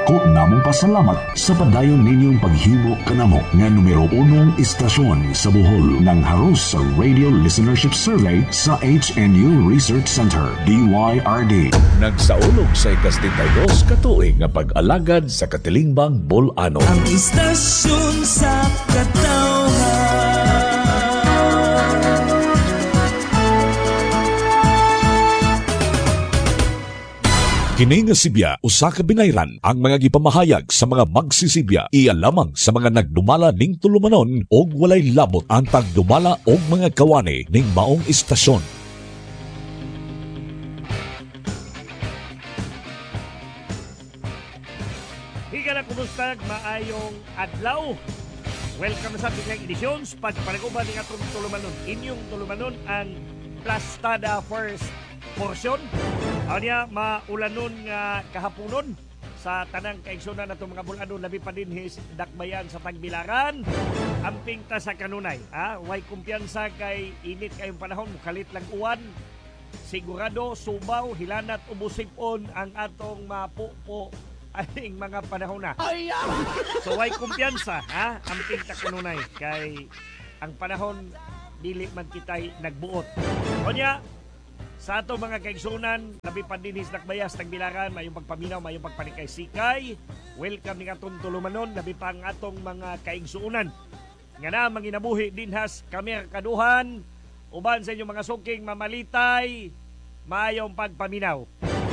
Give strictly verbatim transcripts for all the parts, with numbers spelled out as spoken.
Dako namong pasalamat sa padayon ninyong paghimo kanamo nga numero unong istasyon sa Bohol ng haros sa Radio Listenership Survey sa H N U Research Center, D Y R D. Nagsaulog sa ikasitentaydos katuig nga pag-alagad sa katilingbang Bolano. Ang istasyon sa katawhan. Kini nga sibya usa ka binayran ang mga gipamahayag sa mga magsisibya iya lamang sa mga nagdumala ning tulumanon og walay labot ang tagdumala og mga kawani ning maong istasyon. Higala kumusta maayong adlaw. Welcome sa biglang edisyon pagpanaguban ning atong tulumanon. Inyong tulumanon ang Plastada First Portion. Anya maulanon nga kahaponon sa tanang kaigsunan natong mga bulanon labi pa dinhi dakbayan sa Tagbilaran. Amping ta sa kanunay, ha? Way kumpiyansa kay init kayong panahon, mukalit lang uwan. Sigurado subaw, hilanat ubusipon ang atong mapupo aning mga panahon na. So way kumpiyansa, ha? Amping ta kanunay kay ang panahon dili man kitay nagbuot. Onya sa ato mga kaigsunan, labi pa dinhi sa Dakbayas, Tagbilaran, mayong pagpaminaw, mayong pagpanikay-sikay. Welcome ning atong tulumanon, labi pa ang atong mga kaigsunan. Nga na manginabuhi dinhas kamerkaduhan, uban sa inyong mga suking mamalitay, mayong pagpaminaw.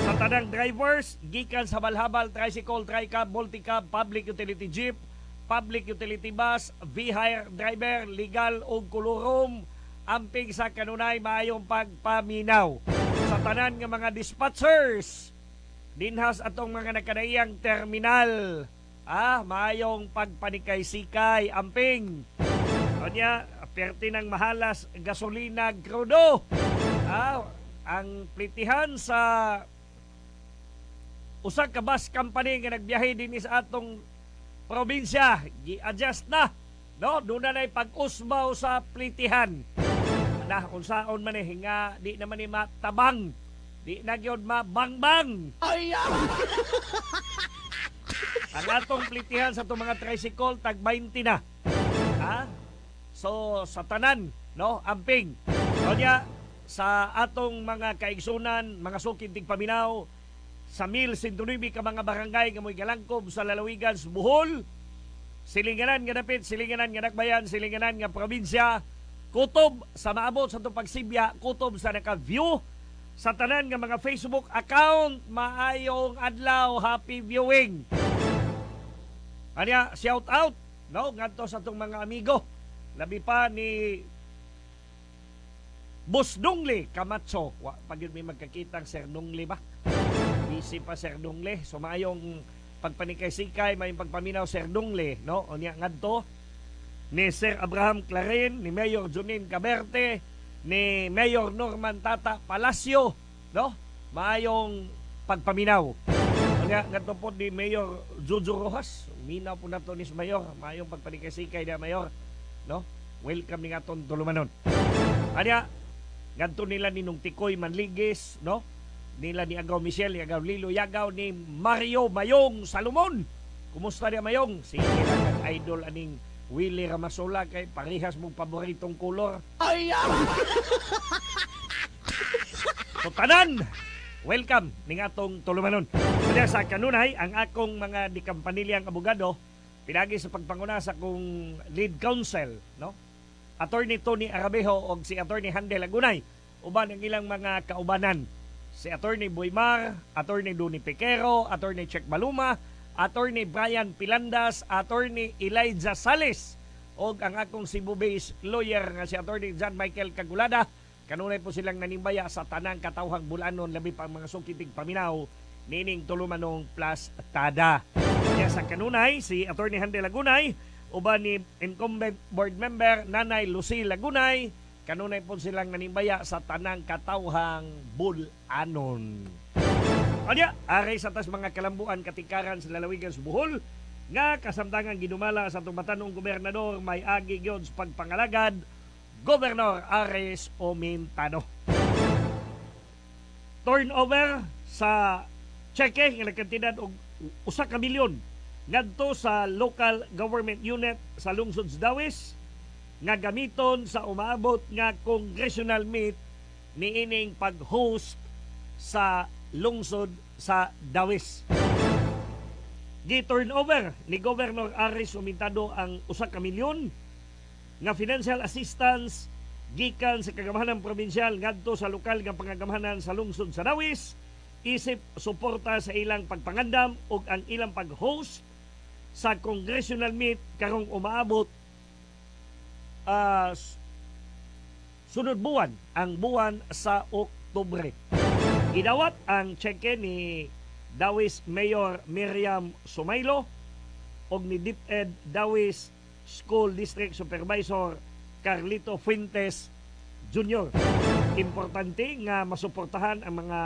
Sa tanang drivers, gikan sa Balhabal, tricycle, tricab, multicab, public utility jeep, public utility bus, V-hire driver, legal o kolorum, amping sa kanunay maayong pagpaminaw. Sa tanan nga mga dispatchers, dinhas atong mga nakadaiyang terminal, ah, maayong pagpanikay-sikay, amping. Onya, perti ng mahalas gasolina krudo. Ah, ang plitihan sa usa ka bus company nga nagbiyahe dinhi sa atong probinsya, gi-adjust na. No, doon na na'y pag-usbaw sa plitihan. Na unsaon man eh nga di naman ni matabang, di na gyud mabangbang. Ang atong plitihan sa itong mga tricycle tag twenty na. Ha? So sa tanan, no, amping. Onya sa atong mga kaigsunan, mga sukid tigpaminaw sa mil sentunibi ka mga barangay nga mo'y galangkob sa lalawigan sa Bohol, silinganan nga dapit, silinganan nga dakbayan, silinganan nga probinsya, kutob sa maabot sa itong pagsibya, kutob sa naka-view, sa tanan nga mga Facebook account, maayong adlaw, happy viewing. Anya, shout out, no, ngadto sa itong mga amigo, labi pa ni Boss Dungli Camacho. Wa, pag yun may magkakitang Sir Dungli ba? Busy pa Sir Dungli. So maayong pagpanikay-sikay, maayong pagpaminaw Sir Dungli, no? Unya ngadto ni Sir Abraham Clarin, ni Mayor Junin Caberte, ni Mayor Norman Tata Palacio, no? Maayong pagpaminaw. Unya ngadto po ni Mayor Jojo Rojas, minaw po nato ni Mayor, maayong pagpanikay-sikay na Mayor, no? Welcome ni atong tulumanon. Anya ngadto nila ni Nung Tikoy Manligis, no? Nila ni Agaw Michelle, ni Agaw Lilo Yagaw, ni Mario Mayong Salomon. Kumusta niya Mayong? Sige lang ang idol aning Willie Ramasola kay parehas mong paboritong kolor. Ay! So tanan, welcome ning atong tulumanon. Kaya sa kanunay, ang akong mga dikampanilyang abogado, pinagi sa pagpanguna sa akong lead counsel, no? Attorney Tony Arabejo og si Attorney Handel Lagunay, uban ang ilang mga kaubanan. Si Attorney Boymar, Attorney Duni Piquero, Attorney Check Baluma, Attorney Brian Pilandas, Attorney Elijah Sales, og ang akong Cebu-based lawyer nga si Attorney John Michael Cagulada. Kanunay po silang nanimbaya sa tanang katawhang bulanon, labi pa ang mga sukitig paminaw nining tulumanong Plus Tada. Kaya sa kanunay, si Attorney Handel Lagunay, uban ni incumbent board member Nanay Lucy Lagunay, kanunay po silang nanimbaya sa tanang katawhang bulanon. Anya, aray sa tas mga kalambuan katikaran sa lalawigan sa Bohol nga kasamtangan ginumala sa atong batanong gobernador may agi gyud sa pagpangalagad, Governor Aris Omintano. Turnover sa cheque nga nagkantidad og usa ka milyon ngadto sa local government unit sa lungsod sa Dawis nga gamiton sa umaabot nga congressional meet niining pag-host sa lungsod sa Dawis. Gi-turn over ni Governor Aris Sumintado ang usa ka milyon nga financial assistance gikan sa kagamhanan probinsyal ngadto sa lokal nga pangagamhanan sa lungsod sa Dawis isip suporta sa ilang pagpangandam ug ang ilang pag-host sa congressional meet karong umaabot uh, sunod buwan, ang buwan sa Oktubre. Gidawat ang tseke ni Dawis Mayor Miriam Sumaylo ug ni DepEd Dawis School District Supervisor Carlito Fuentes Junior Importante nga masuportahan ang mga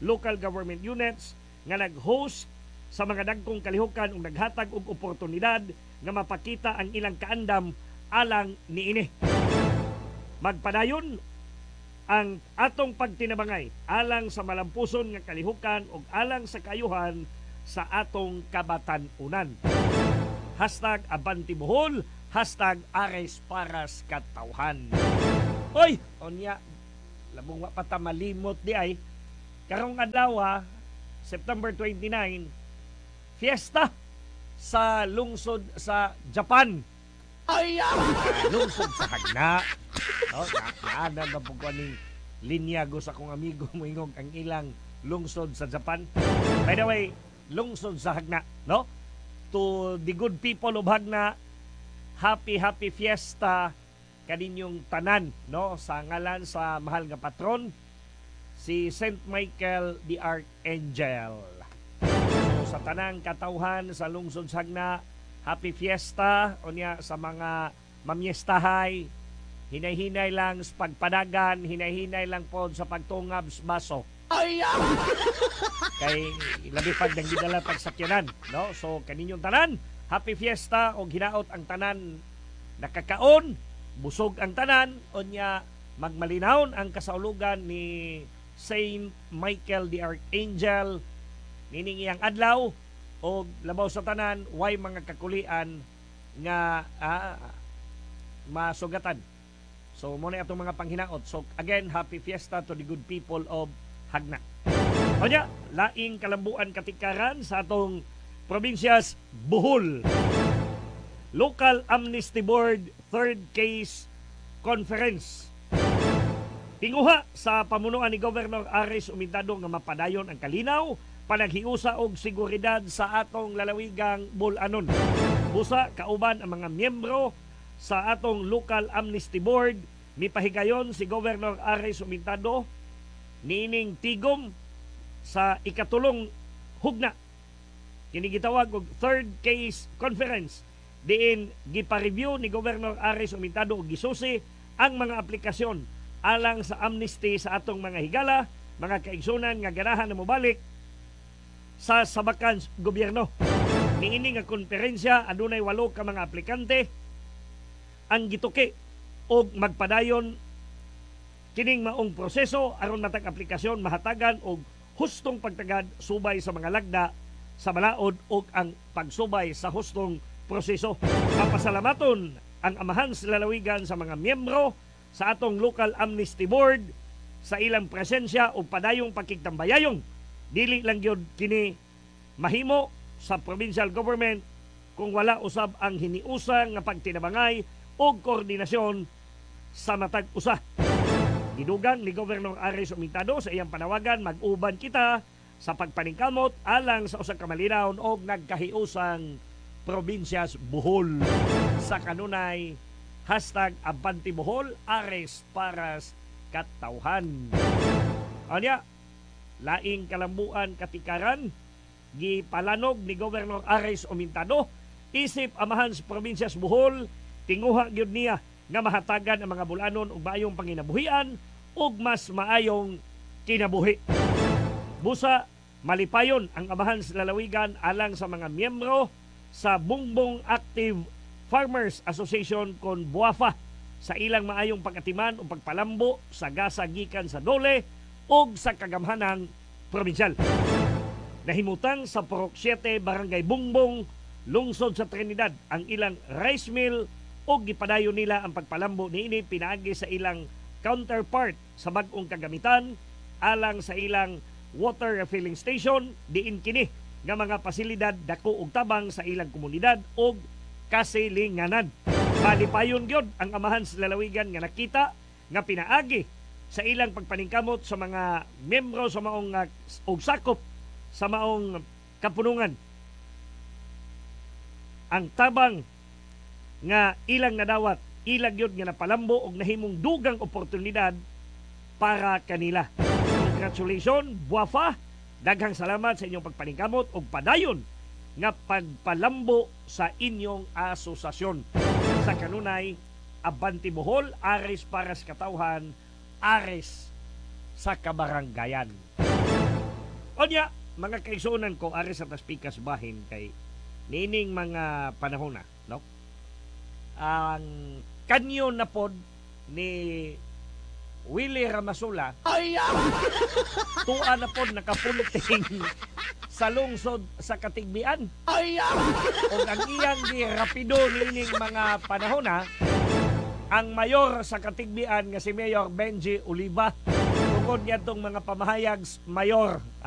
local government units nga nag-host sa mga dagkong kalihukan ug naghatag og oportunidad nga mapakita ang ilang kaandam alang niini. Magpadayon ang atong pagtinabangay alang sa malampuson nga kalihukan ug alang sa kayuhan sa atong kabatan-unan. Hashtag Abante Bohol, hashtag Ares Paras Katawhan. Oy, onya, labong wa pa ta malimot di ay. Karong adlaw, September twenty-nine, fiesta sa lungsod sa Japan. Ay! Lungsod sa Hagna. No, na, na, na, na, ning linyago sa akong amigo moingog ang ilang lungsod sa Japan. By the way, lungsod sa Hagna, no? To the good people of Hagna, happy happy fiesta kaninyong tanan, no? Sa ngalan sa mahal nga patron, si Saint Michael the Archangel. So sa tanang katawhan sa lungsod sa Hagna, happy fiesta unya sa mga mamyestahay, hinay-hinay lang sa pagpadagan, hinay-hinay lang po sa pagtungab sa baso. Ay! Kay labi pag nang gidala pagsakyanan, no? So kaninyong tanan, happy fiesta og hinaot ang tanan nakakaon, busog ang tanan, unya magmalinawon ang kasaulugan ni Saint Michael the Archangel nining iyang adlaw og labaw sa tanan way mga kakulian nga ah, masugatan. So mo na atong mga panghinaot. So again, happy fiesta to the good people of Hagna. Onya, laing kalambuan katikaran sa atong probinsyas Bohol. Local Amnesty Board Third Case Conference. Tinguha sa pamunuan ni Governor Aris Umintado nga mapadayon ang kalinaw, panaghiusa og seguridad sa atong lalawigang Bol-anon. Busa kauban ang mga miyembro sa atong Local Amnesty Board, mipahigayon si Governor Aris Umintado niining tigom sa ikatulong hugna. Kini gitawag og Third Case Conference diin gipa-review ni Governor Aris Umintado og gisusi ang mga aplikasyon alang sa amnesty sa atong mga higala, mga kaigsunan nga ganahan na mobalik sa sabakan gobyerno. Niini nga konferensya adunay walo ka mga aplikante ang gituki og magpadayon kining maong proseso aron matag aplikasyon mahatagan og hustong pagtagad subay sa mga lagda sa balaod ug ang pagsubay sa hustong proseso. Papasalamaton ang amahan sa lalawigan sa mga miyembro sa atong Local Amnesty Board sa ilang presensya ug padayong pagkigtambayayong. Dili lang gyud kini mahimo sa provincial government kung wala usab ang hiniusa nga pagtinabangay og koordinasyon sa matag usa. Gidugang ni Governor Aris Umintado sa iyang panawagan, mag-uban kita sa pagpaningkamot alang sa usa ka malinawon og nagkahiusang probinsyas Bohol. Sa kanunay, hashtag Abante Bohol, Ares Paras Katawhan. Anya, laing kalambuan katikaran, gipalanog ni Governor Aris Umintado, isip amahan sa probinsyas Bohol, tinguha gyud niya nga mahatagan ang mga bulanon og maayong panginabuhian ug mas maayong kinabuhi. Busa malipayon ang amahan sa lalawigan alang sa mga miyembro sa Bungbong Active Farmers Association kon Buafa sa ilang maayong pagatiman o pagpalambo sa gasa gikan sa dole ug sa kagamhanang probinsyal. Nahimutang sa Purok siyete, Barangay Bungbong, lungsod sa Trinidad, ang ilang rice mill ug gipadayon nila ang pagpalambo niini pinaagi sa ilang counterpart sa bag-ong kagamitan alang sa ilang water refilling station, diin kini nga mga pasilidad dako og tabang sa ilang komunidad og kasilinganan. Malipayon gyud ang amahan sa lalawigan nga nakita nga pinaagi sa ilang pagpaningkamot sa mga miyembro sa maong uh, og sakop sa maong kapunungan, ang tabang nga ilang nadawat, ilang gyud nga napalambo og nahimong dugang oportunidad para kanila. Congratulations, Buafa. Daghang salamat sa inyong pagpaningkamot og padayon nga pagpalambo sa inyong asosasyon. Sa kanunay, Abante Bohol, ares para sa katawhan, ares sa kabaranggayan. Onya, mga kaigsuonan ko, ares sa taspikas bahin kay niining mga panahon na, no? Ang kanyo na pod ni Willie Ramasola Ay, tuwa na pod nakapunting sa lungsod sa Katigbian. Ay, Og ang iyang girapido niining mga panahon na ang mayor sa Katigbian nga si Mayor Benji Oliva tungod niadtong mga pamahayag, mayor.